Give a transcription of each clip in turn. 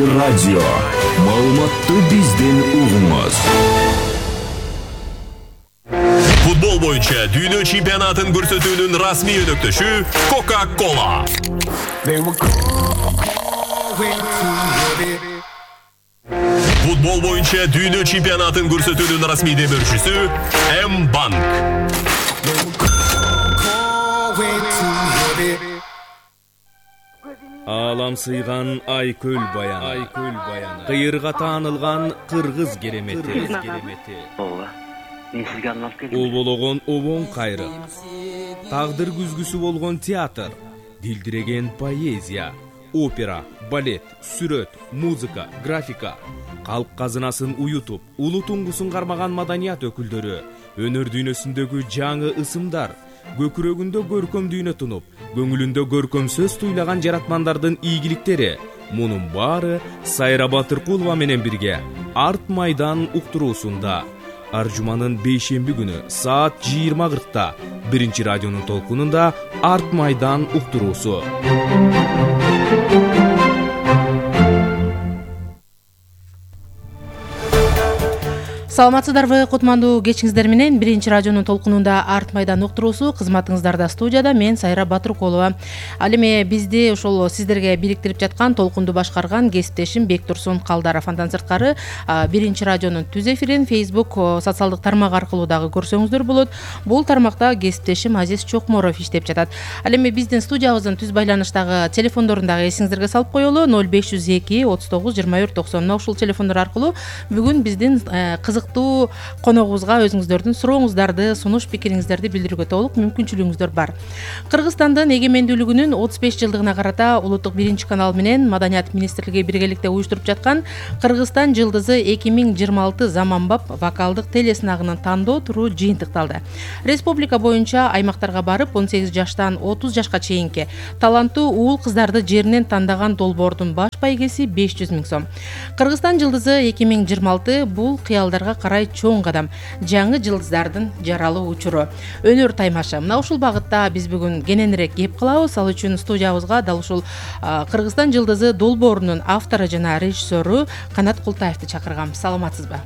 Радио. Маалыматты бизден угуңуз. Футбол боюнча дүйнө чемпионатын көрсөтүүнүн расмий өнөктөшү Coca-Cola. Футбол боюнча дүйнө чемпионатын көрсөтүүнүн расмий демөөрчүсү M-Bank. Алам сыйган Айкөл баяны. Кыйырга таанылган кыргыз керемети. Мен сизге арналып келдим. Обологон обон кайры. Тагдыр күзгүсү болгон театр, дилдиреген поэзия, опера, балет, сүрөт, музыка, графика, калк казынасын уютуп, улуу туңгусун кармаган маданият өкүлдөрү, өнөр дүйнөсүндөгү жаңы ысымдар, көкүрөгүндө көркөм дүйнө тунуп, көңүлүндө көркөм сөз туйлаган жаратмандардын ийгиликтери. Мунун баары Сайра Батыркулова менен бирге Арт майдан уктуруусунда. Аржуманын бейшемби күнү саат 20:40-та биринчи радионун толкунунда Арт майдан уктуруусу. Саламатсыздарбы, кутмандуу кечиңиздер менен биринчи радионун толкунунда Арт майдан уктуруусу кызматыңыздарда. Студияда мен Сайра Батыркулова. Ал эми бизди ошол сиздерге бириктирип жаткан толкунду башкарган кесиптешим Бектурсун Калдаров. Андан сырткары биринчи радионун түз эфирин Facebook социалдык тармак аркылуу дагы көрсөңүздөр болот. Бул тармакта кесиптешим Азиз Чокморов иштеп жатат. Ал эми биздин студиябыздын түз байланыштагы телефондорун дагы эсиңиздерге салып коелу. 0502 39 24 90. Мына ушул телефондор аркылуу бүгүн биздин коногубузга өзүңүздөрдүн сурооңуздарды, сунуш пикириңиздерди билдирүүгө толук мүмкүнчүлүгүңүздөр бар. Кыргызстандын эгемендүүлүгүнүн 35 жылдыгына карата улуттук биринчи канал менен Маданият министрлиги биргеликте уюштуруп жаткан Кыргызстан жылдызы 2026 заманбап вокалдык телесынагынын тандоо туру жыйынтыкталды. Республика боюнча аймактарга барып 18 жаштан 30 жашка чейинки таланттуу уул кыздарды жеринен тандаган долбоордун баш байгеси 500 000 сом. Кыргызстан жылдызы 2026 бул кыялдарга карай чоң кадам, жаңы жылдыздардын жаралуу учуру, өнөр таймашы. Мына ушул багытта биз бүгүн кененирээк кеп кылабыз. Ал үчүн студиябызга дал ушул Кыргызстан жылдызы долбоорунун автору жана режиссеру Канат Култаевди чакыргам. Саламатсызбы?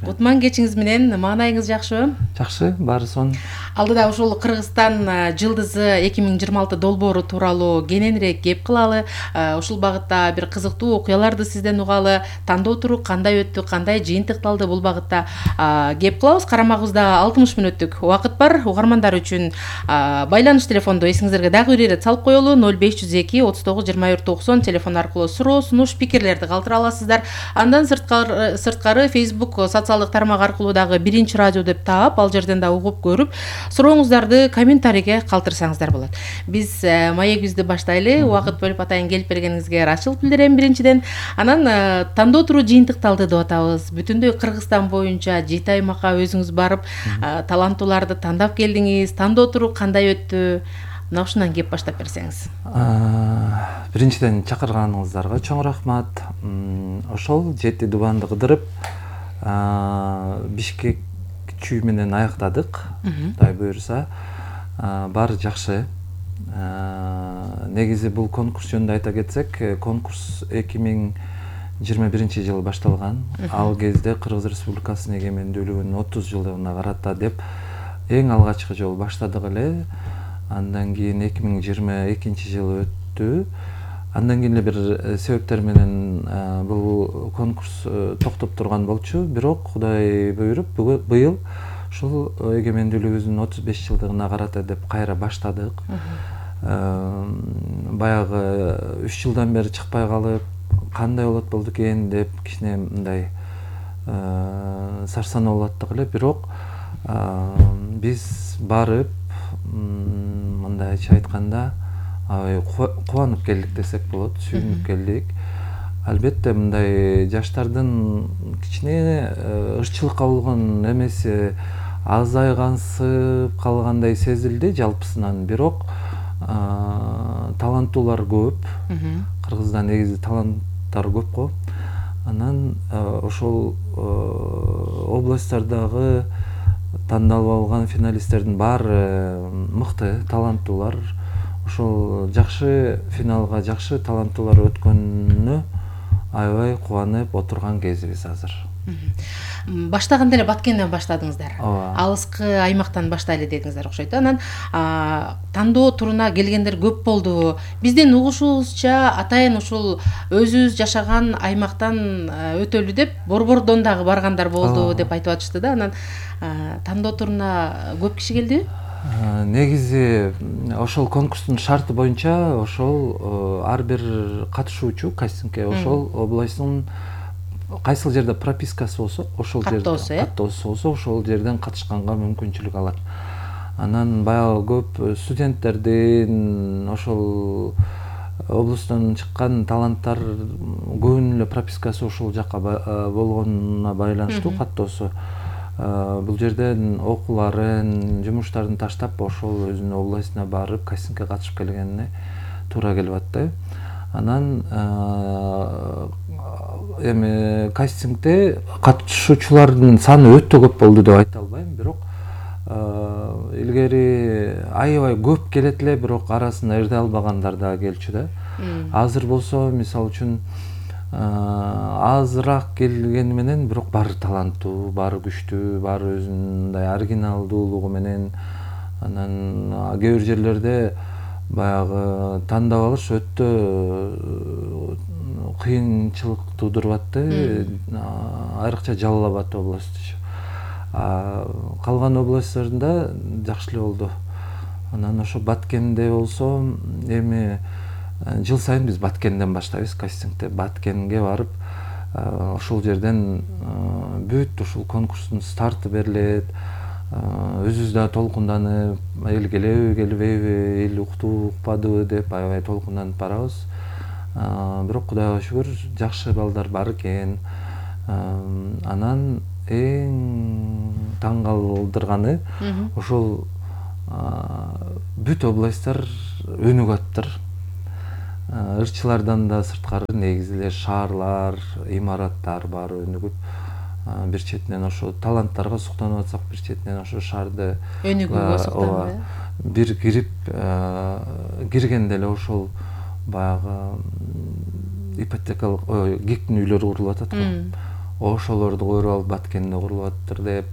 Кутман кечиңиз менен. Маанайыңыз жакшыбы? Жакшы, баары сонун. Алдыда ушул Кыргызстан жылдызы 2026 долбоору тууралуу кененирээк кеп кылалы. Ушул багытта бир кызыктуу окуяларды сизден угалы. Тандоо туру кандай өттү, кандай жыйынтыкталды, бул багытта кеп кылабыз. Карамагыбызда 60 мүнөттүк убакыт бар. Угармандар үчүн байланыш телефонду эсиңиздерге дагы бир ирет салып коелу. 0502 39 24 90 телефон аркылуу суроо, сунуш, пикирлерди калтыра аласыздар. Андан сырткары Facebook социалдык тармак аркылуу дагы биринчи радио деп таап, ал жерден да угуп көрүп, сурооңуздарды комментарийге калтырсаңыздар болот. Биз маегибизди баштайлы. Убакыт бөлүп атайын келип бергениңизге ырайчылык билдирем биринчиден. Анан тандоо туру жыйынтыкталды деп атабыз. Бүтүндөй Кыргызстан боюнча 7 аймакка өзүңүз барып, таланттууларды тандап келдиңиз. Тандоо туру кандай өттү? Мына ушундан кеп баштап берсеңиз. Биринчиден чакырганыңыздарга чоң рахмат. Ошол 7 дубанды кыдырып, Бишкек чүй менен аяктадык. Кудай буйрса, баары жакшы. Негизи бул конкурс жөнүндө айта кетсек, конкурс 2021 жылы башталган. Ал кезде Кыргыз Республикасынын эгемендүүлүгүнүн 30 жылдыгына карата деп эң алгачкы жолу баштадык эле. Андан кийин 2022 жылы өттү. Андан кийин бир себептер менен бул конкурс токтоп турган болчу. Бирок Кудай буйруп быйыл ушул эгемендүүлүгүбүздүн 35 жылдыгына карата деп кайра баштадык. Баягы 3 жылдан бери чыкпай калып, кандай болот болду экен деп кичине мындай сарсанаа болуп аттык эле. Бирок биз барып, мындайча айтканда, кубанып келдик десек болот, сүйүнүп келдик. Албетте мындай жаштардын кичине ырчылыкка болгон эмеси азайгансып калгандай сезилди жалпысынан. Бирок таланттуулар көп. Кыргызда негизи таланттар көп го. Анан ошол областтардагы тандалып алган финалисттердин баары мыкты, таланттуулар. Ошол жакшы финалга жакшы таланттуулар өткөнүнө аябай кубанып отурган кезибиз азыр. Баштаганда эле Баткенден баштадыңыздар. Ооба. Алыскы аймактан баштайлы дедиңиздер окшойт. Анан тандоо туруна келгендер көп болду. Биздин угушубузча атайын ушул өзүбүз жашаган аймактан өтөлү деп Борбордон дагы баргандар болду деп айтып атышты да. Анан тандоо туруна көп киши келдиби? Негизи ошол конкурстун шарты боюнча ошол ар бир катышуучу кастингке ошол областтын кайсыл жерде пропискасы болсо, ошол жерде каттоосу болсо, ошол жерден катышканга мүмкүнчүлүк алат. Анан баягы көп студенттердин ошол облустан чыккан таланттар көбүнүн эле пропискасы ошол жакка болгонуна байланыштуу каттоосу. Бул жерден окууларын, жумуштарын таштап ошол өзүнүн областына барып кастингке катышып келгенине туура келип атты. Анан эми кастингде катышуучулардын саны өтө көп болду деп айта албайм, бирок илгери аябай көп келет эле, бирок арасында эрде албагандар да келчү да. Азыр болсо, мисалы үчүн азыраак келгени менен бирок баары таланттуу, баары күчтүү, баары өзүнүн мындай оригиналдуулугу менен. Анан кээ бир жерлерде баягы тандап алыш өтө кыйынчылык туудуруп атты. Айрыкча Жалал Абад областычы. Калган областтарында жакшы эле болду. Анан ошо Баткенде болсо, эми жыл сайын биз Баткенден баштайбыз кастингди. Баткенге барып, ошол жерден бүт ушул конкурстун старты берилет. Өзүбүз да толкунданып, эл келеби, келбейби, эл укту, укпадыбы деп аябай толкунданып барабыз. Бирок Кудайга шүгүр, жакшы балдар бар экен. Анан эң таң калтырганы ошол бүт областтар өнүгүп аттыр. Ырчылардан да сырткары негизи эле шаарлар, имараттар баары өнүгүп, бир четинен ошо таланттарга суктанып атсак, бир четинен ошо шаарды өнүгүүгө суктанып, бир киргенде эле ошол баягы ипотекалык гиктин үйлөрү курулуп атат го. Ошолорду көрүп алып Баткенде курулуп аттыр деп.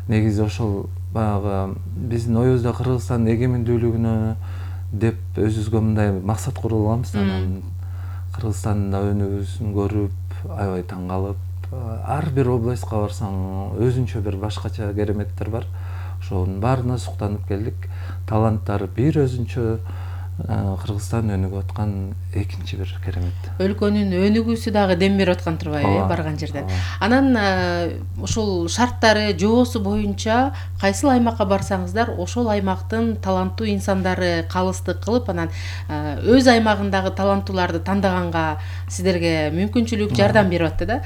Негизи ошол баягы биздин оюбузда Кыргызстандын эгемендүүлүгүнө деп өзүбүзгө мындай максат куруп алганбыз. Анан Кыргызстанда өнүгүүсүн көрүп, аябай таң калып, ар бир областка барсаң өзүнчө бир башкача кереметтер бар. Ошонун баарына суктанып келдик. Таланттары бир өзүнчө, Кыргызстан өнүгүп аткан экинчи бир керемет. Өлкөнүн өнүгүүсү дагы дем берип аткан турбайбы, барган жерден. Анан ошол шарттары, жоосу боюнча кайсыл аймакка барсаңыздар, ошол аймактын таланттуу инсандары калыстык кылып, анан өз аймагындагы таланттууларды тандаганга сиздерге мүмкүнчүлүк, жардам берип атты да.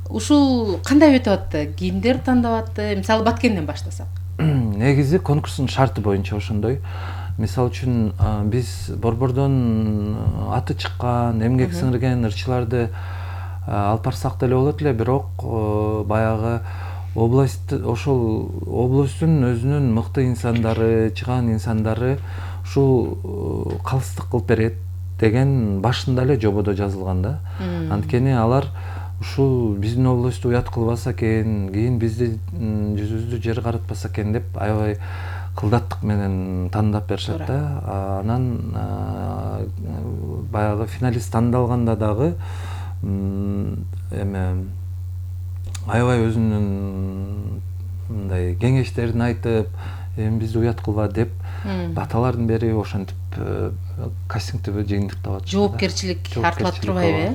Ушул кандай өтүп атты? Кимдер тандап атты? Мисалы Баткенден баштасак. Негизи конкурстун шарты боюнча ошондой. Мисалы үчүн биз Борбордон аты чыккан, эмгек сиңирген ырчыларды алып барсак деле болот эле, бирок баягы область, ошол областтын өзүнүн мыкты инсандары, чыган инсандары ушул калыстык кылып берет деген башында эле жободо жазылган да. Анткени алар ушул биздин областты уят кылбаса экен, кийин бизди жүзүбүздү жер каратпаса экен деп аябай кылдаттык менен тандап беришет да. Анан баягы финалист тандалганда дагы эме аябай өзүнүн мындай кеңештерин айтып, эми бизди уят кылба деп баталарын берип, ошентип кастингди жыйынтыктап атышты. Жоопкерчилик артылат турбайбы?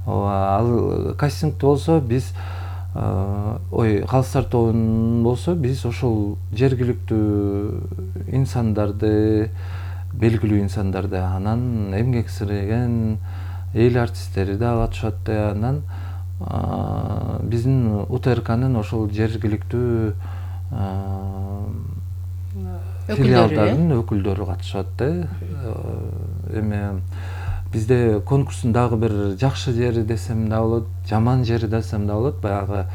Ал кастингде болсо биз калыстар тобун болсо биз ошол жергиликтүү инсандарды, белгилүү инсандарды, анан эмгек сиңирген эл артисттери да катышат. Анан биздин УТРКнын ошол жергиликтүү филиалдарынын өкүлдөрү катышат. Эми бизде конкурстун дагы бир жакшы жери десем да болот, жаман жери десем да болот. Баягы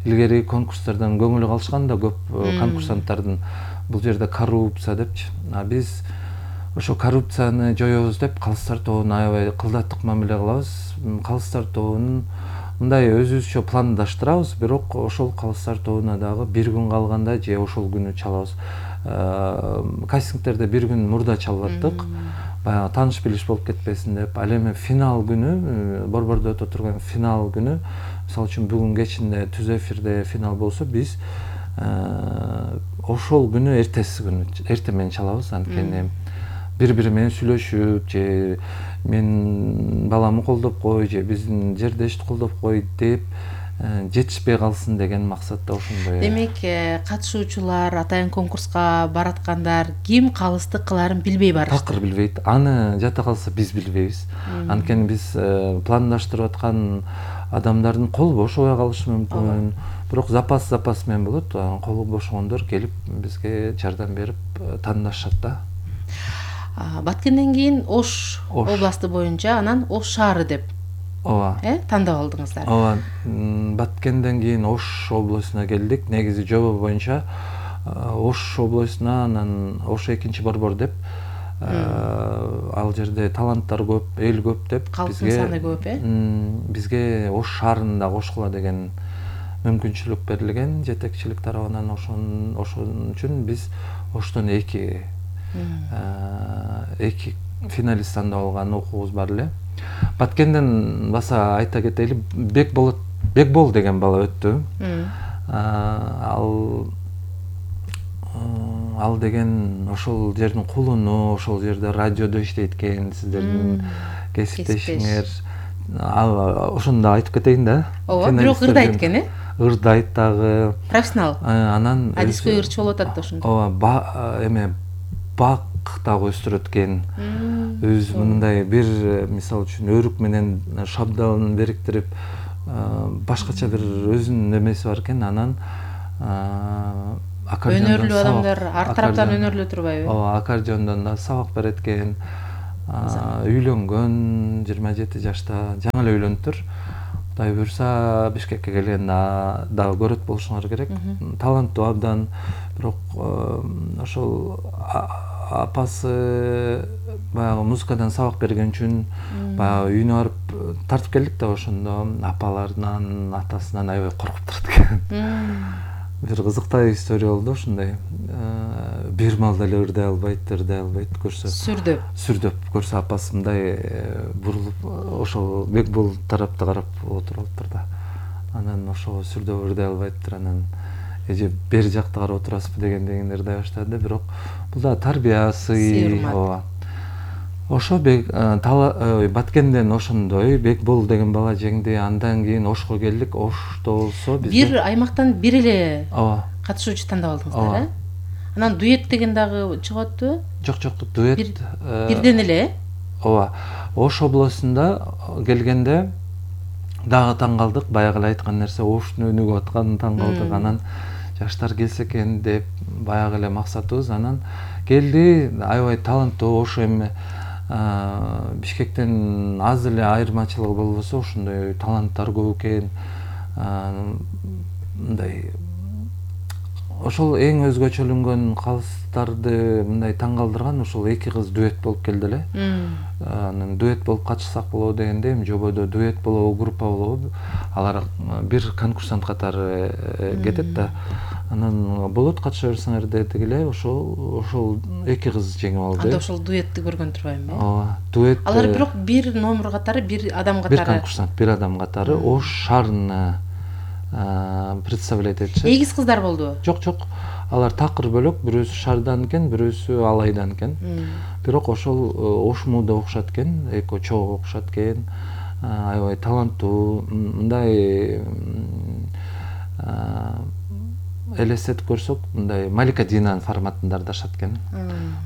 илгери конкурстардан көңүл калышкан да көп конкурсанттардын, бул жерде коррупция депчи. Биз ошо коррупцияны жоёбуз деп Калыстар тобуна аябай кылдаттык мамиле кылабыз. Калыстар тобунун мындай өзүбүзчө пландаштырабыз, бирок ошол Калыстар тобуна дагы бир күн калганда же ошол күнү чалабыз. Кастингтерде бир күн мурда чалып баягы тааныш билиш болуп кетпесин деп. Ал эми финал күнү, борбордо өтө турган финал күнү, мисалы үчүн бүгүн кечинде түз эфирде финал болсо, биз ошол күнү эртеси күнү эртең менен чалабыз. Анткени бири-бири менен сүйлөшүп, же мен баламы колдоп кой, же биздин жердешти колдоп кой деп жетишпей калсын деген максатта ошондой. Демек, катышуучулар, атайын конкурска бараткандар ким калыстык кыларын билбей барышты. Такыр билбейт. Аны жата калса биз билбейбиз. Анткени биз пландаштырып аткан адамдардын колу бошобой калышы мүмкүн. Бирок запас менен болот. Колу бошогондор келип бизге жардам берип тандашат да. Баткенден кийин Ош областы боюнча, анан Ош шаары деп тандап алдыңыздар. Ооба. Баткенден кийин Ош областына келдик. Негизи жобо боюнча Ош областына, анан Ош экинчи борбор деп, ал жерде таланттар көп, эл көп деп Калктын саны көп, бизге Ош шаарын да кошкула деген мүмкүнчүлүк берилген жетекчилик тарабынан. Ошон үчүн биз Оштон эки финалист тандап алган окуубуз бар эле. Баткенден баса айта кетели, Бекбол деген бала өттү. Ал деген ошол жердин кулуну, ошол жерде радиодо иштейт экен, сиздердин кесиптешиңер. Ал ошондо айтып кетейин да. Ооба, бирок ырдайт экен, ырдайт дагы. Профессионал. Анан адиской ырчы болуп атат да ошондо. Ооба, эме бак дагы өстүрөт экен. Өз мындай бир, мисалы үчүн, өрүк менен шабдалын бириктирип, башкача бир өзүнүн эмеси бар экен. Анан өнөрлүү адамдар ар тараптан өнөрлүү турбайбы? Ооба, аккордеондон да сабак берет экен. Үйлөнгөн, 27 жашта, жаңы эле үйлөнүптүр. Кудай буйрса Бишкекке келгенде дагы көрөт болушуңар керек. Таланттуу абдан, бирок ошол апасы баягы музыкадан сабак берген үчүн баягы үйүнө барып тартып келдик да, ошондо апаларынан, атасынан аябай коркуп турат экен. Бир кызыктуу история болду ошондой. Бир маалда эле ырдай албайт көрсө. Сүрдөп көрсө апасы мындай бурулуп ошол Бекбол тарапты карап отуруптур да. Анан ошол сүрдөп ырдай албайттыр. Анан эже бери жакта карап отурасызбы дегенден ырдай баштады. Бирок бул да тарбия, сый. Ошо Баткенден ошондой Бекбол деген бала жеңди. Андан кийин Ошко келдик. Ошто болсо биз бир аймактан бир эле катышуучу тандап алдыңыздар, Анан дуэт деген дагы чыгып атпы? Жок, дуэт бирден эле? Ооба. Ош областында келгенде дагы таң калдык. Баягы эле айткан нерсе, Оштун өнүгүп атканын таң калдык. Анан жаштар келсе экен деп баягы эле максатыбыз. Анан келди, аябай таланттуу. Ош эми Бишкектен аз эле айырмачылыгы болбосо, ошондой таланттар көп экен. Мындай ошол эң өзгөчөлөнгөн калыстарды мындай таң калтырган ошол эки кыз дуэт болуп келди эле. Анан дуэт болуп катышсак болобу дегенде, эми жободо дуэт болобу, группа болобу, алар бир конкурсант катары кетет да. Анан болот, катыша берсеңер дедик эле. Ошол эки кыз жеңип алды. Анда ошол дуэтти көргөн турбайбы? Ооба, дуэт. Алар бирок бир номер катары, бир адам катары. Бир конкурсант, бир адам катары Ош шаарына представлять этишет. Эгиз кыздар болдубу? Жок. Алар такыр бөлөк, бирөөсү шаардан экен, бирөөсү Алайдан экен. Бирок ошол Ошмуда окушат экен, эко чогуу окушат экен. Аябай таланттуу, мындай элестетип көрсөк, мындай Малика Динанын форматында ырдашат экен.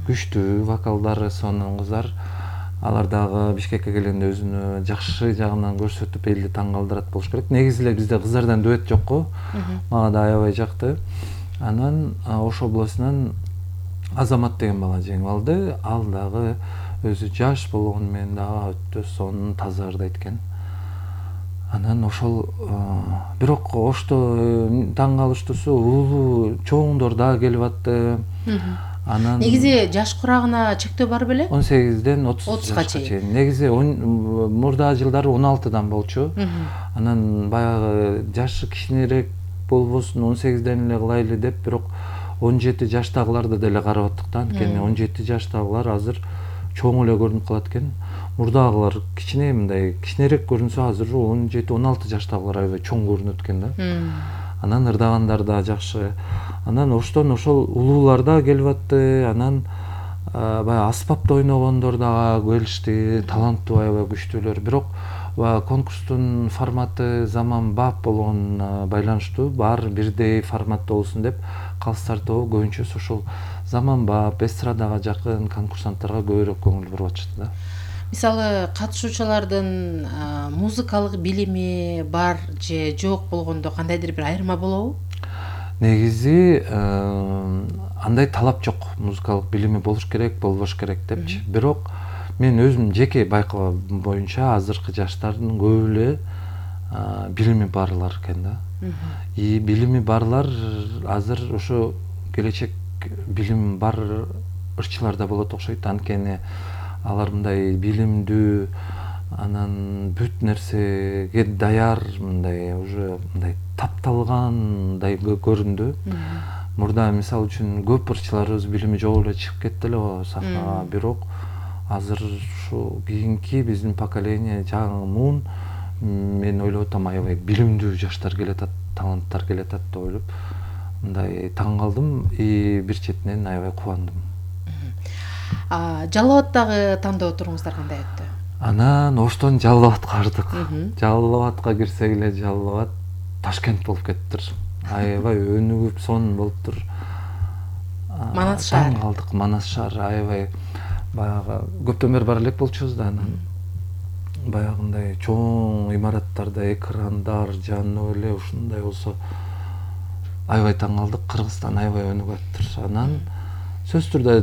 Күчтүү вокалдары сонун кыздар. Алар дагы Бишкекке келгенде өзүнү жакшы жагынан көрсөтүп, элди таң калтырат болуш керек. Негизи эле бизде кыздардан дуэт жокко. Мага да аябай жакты. Анан Ош областынан Азамат деген бала жеңип алды. Ал дагы өзү жаш болгону менен дагы өтө сонун, таза ырдайт экен. Анан ошол бирок Ошто таң калыштуусу улуу чоңдор дагы келип атты. Анан негизи жаш курагына чектөө бар беле? 18ден 30 30га жашка чейин. Негизи мурда жылдары 16дан болчу. Анан баягы жашы кичинерээк болбосун 18ден эле кылайлы деп, бирок 17 жаштагыларды деле карап аттык да. Анткени 17 жаштагылар азыр чоң эле көрүнүп калат экен. Мурдагылар кичине мындай кичинерээк көрүнсө, азыр 17-16 жаштагылар аябай чоң көрүнөт экен да. Анан ырдагандар да жакшы. Анан оштон ошол улуулар да келип атты. Анан баягы аспапта ойногондор да келишти, таланттуу аябай күчтүүлөр. Бирок конкурстун форматы заманбап болгонуна байланыштуу, баары бирдей форматта болсун деп калыстар тобу көбүнчөсү ошол заманбап, эстрадага жакын конкурсанттарга көбүрөөк көңүл буруп атышты да. Мисалы, катышуучулардын музыкалык билими бар же жок болгондо кандайдыр бир айырма болобу? Негизи андай талап жок. Музыкалык билими болуш керек, болбош керек депчи. Бирок мен өзүм жеке байкаган боюнча азыркы жаштардын көбү эле билими барлар экен да. И билими барлар азыр ошо келечек билим бар ырчылар да болот окшойт. Анткени алар мындай билимдүү, анан бүт нерсеге даяр, мындай уже мындай тапталгандай көрүндү. Мурда мисалы үчүн көп ырчыларыбыз билими жок эле чыгып кетти эле сахнага, бирок азыр ушу кийинки биздин поколение жаңы муун, мен ойлоп атам, аябай билимдүү жаштар келатат, таланттар келатат деп ойлоп мындай таң калдым и бир четинен аябай кубандым. Жалал Абадтагы тандоо туруңуздар кандай өттү? Анан оштон Жалал Абадка бардык. Жалал Абадка кирсек эле Жалал Абад Ташкент болуп кеттир. Аябай өнүгүп сонун болуптур. Манас шаар. Таң калдык, Манас шаар аябай баягы көптөн бери бара элек болчубуз да, анан баягындай чоң имараттарда экрандар жанып эле ушундай болсо аябай таң калдык. Кыргызстан аябай өнүгүп аттыр. Анан сөзсүз түрдө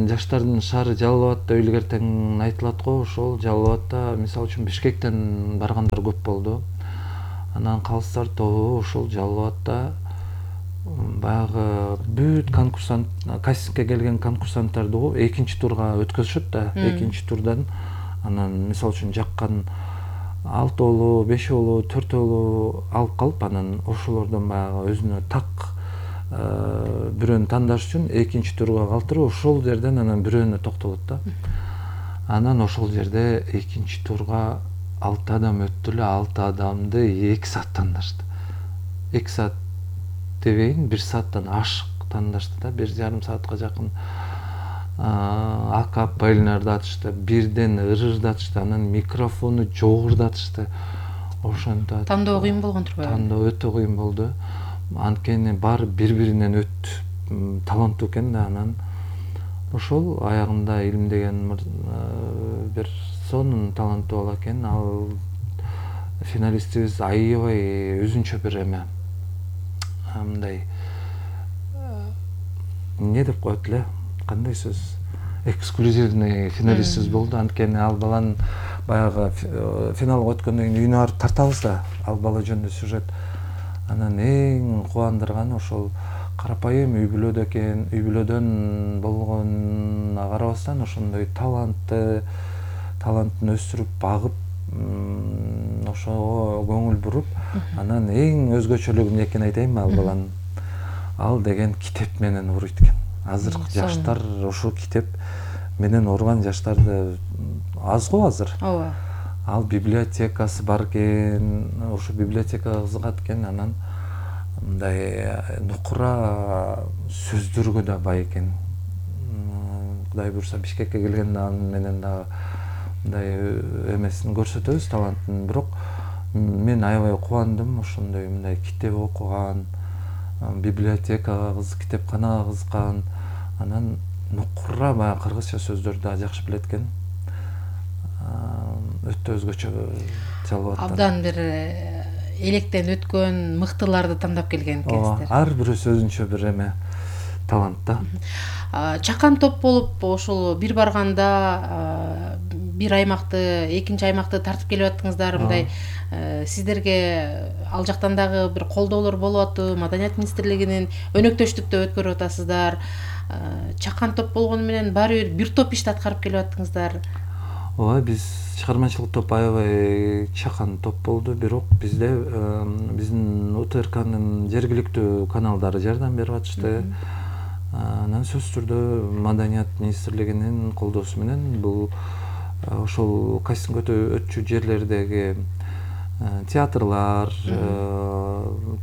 жаштардын шаары Жалал Абад деп илгертен айтылат го. Ошол Жалал Абадта мисалы үчүн Бишкектен баргандар көп болду. Анан калыстар тобу ошол Жалал Абадта баягы бүт конкурсант, кастингке келген конкурсанттарды экинчи турга өткөзүшөт да. Экинчи турдан анан мисалы үчүн жаккан 6 5 4 алып калып, анан ошолордон баягы өзүнө так бирөөнү тандаш үчүн экинчи турга калтырып, ошол жерден анан бирөөнө токтолот да. Анан ошол жерде экинчи турга 6 адам өттү эле, 6 адамды 2 саат тандашты. 2 саат дебейин, 1 сааттан ашык тандашты да. 1,5 саатка жакын акапелларды атышты, бирден ырырдатышты, анан микрофону жогурдатышты. Ошондо тандоо кыйын болгон турбайбы? Тандоо өтө кыйын болду. Анткени баары бири-биринен таланттуу экен да. Анан ошол аягында Илим деген бир сонун таланттуу бала экен. Ал финалистибиз аябай өзүнчө бир эме, мындай эмне деп коет эле, кандай сөз, эксклюзивный финалистибиз болду. Анткени ал баланын баягы финалга өткөндөн кийин үйүнө барып тартабыз да, ал бала жөнүндө сюжет. Анан эң кубандырганы ошол карапайым үй бүлөдө экен, үй бүлөдөн болгонуна карабастан ошондой талантын өстүрүп, багып, ошого көңүл буруп, анан эң өзгөчөлүгү эмне экенин айтайынбы ал баланын? Ал деген китеп менен уруйт экен. Азыркы жаштар ошол китеп менен урган жаштарды аз го азыр. Ооба. Ал библиотекасы бар экен, ошо библиотекага кызыгат экен, анан мындай нукура сөздөргө да бай экен. Кудай буйрса Бишкекке келгенде анын менен дагы мындай эмесин көрсөтөбүз, талантын. Бирок мен аябай кубандым, ошондой мындай китеп окуган, библиотекага китепканага кызыккан, анан нукура баягы кыргызча сөздөрдү да жакшы билет экен. Өтө өзгөчө Жалал Абадтан. Абдан бир электен өткөн мыктыларды тандап келген экенсиздер. Ар бирөөсү өзүнчө бир эме, талант да. Чакан топ болуп ошол бир барганда бир аймакты, экинчи аймакты тартып келип аттыңыздар, мындай сиздерге ал жактан дагы бир колдоолор болуп атпы? Маданият министрлигинин өнөктөштүктө өткөрүп атасыздар. Чакан топ болгону менен баары бир топ ишти аткарып келип аттыңыздар. Ооба, биз чыгармачылык топ аябай чакан топ болду, бирок бизде биздин УТРКнын жергиликтүү каналдары жардам берип атышты. Анан сөзсүз түрдө Маданият министрлигинин колдоосу менен бул ошол кастинг өтчү жерлердеги театрлар,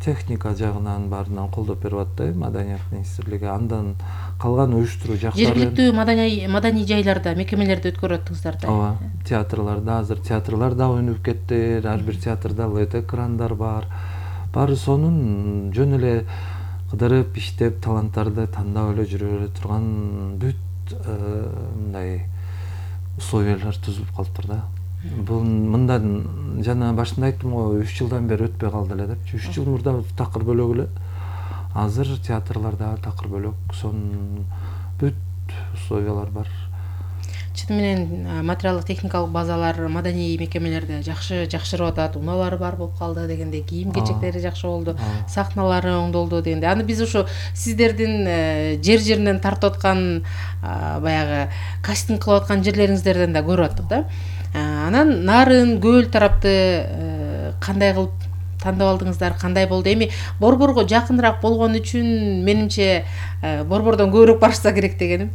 техника жагынан баарынан колдоп берип атты Маданият министрлиги. Андан калган уюштуруу жактары жергиликтүү маданий жайларда, мекемелерде өткөрүп аттыңыздар да. Ооба, театрларда азыр театрлар да өнүгүп кетти. Ар бир театрда LED экрандар бар. Баары сонун жөн эле кыдырып, иштеп, таланттарды тандап эле жүрө турган бүт мындай условиялар түзүлүп калыптыр да. Бул мындан жана башында айттым го, 3 жылдан бери өтпөй калды эле депчи. 3 жыл мурда такыр бөлөк эле. Азыр театрларда такыр бөлөк, сонун бүт условиялар бар. Чын менен материалдык техникалык базалар маданий мекемелерде жакшырып атат, унаалары бар болуп калды дегенде, кийим кечектери жакшы болду, сахналары оңдолду дегенде. Аны биз ошо сиздердин жеринен тартып аткан баягы кастинг кылып аткан жерлериңиздерден да көрүп аттык да. Анан Нарын, Көл тарапты кандай кылып тандап алдыңыздар, кандай болду? Эми Борборго жакыныраак болгон үчүн менимче Борбордон көбүрөөк барышса керек дегеним.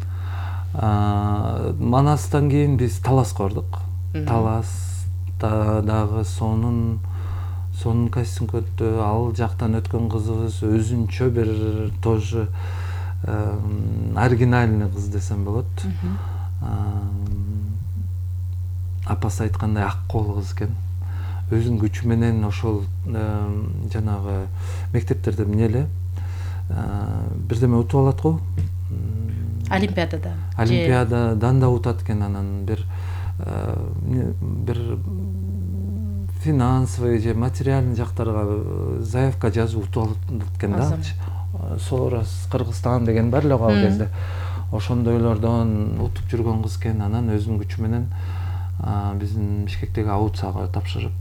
Манастан кийин биз Таласка бардык. Таласта дагы сонун кастинг өттү. Ал жактан өткөн кызыбыз өзүнчө бир тоже оригинальный кыз десем болот. Апасы айткандай ак кол кыз экен. Өзүнүн күчү менен ошол жанагы мектептерде эмне эле бирдеме утуп алат го. Олимпиададан да утат экен, анан бир финансовый же материальный жактарга заявка жазып утуп алат экен да. Сорос Кыргызстан деген бар эле ал кезде. Ошондойлордон утуп жүргөн кыз экен. Анан өзүнүн күчү менен биздин Бишкектеги аудицияга тапшырып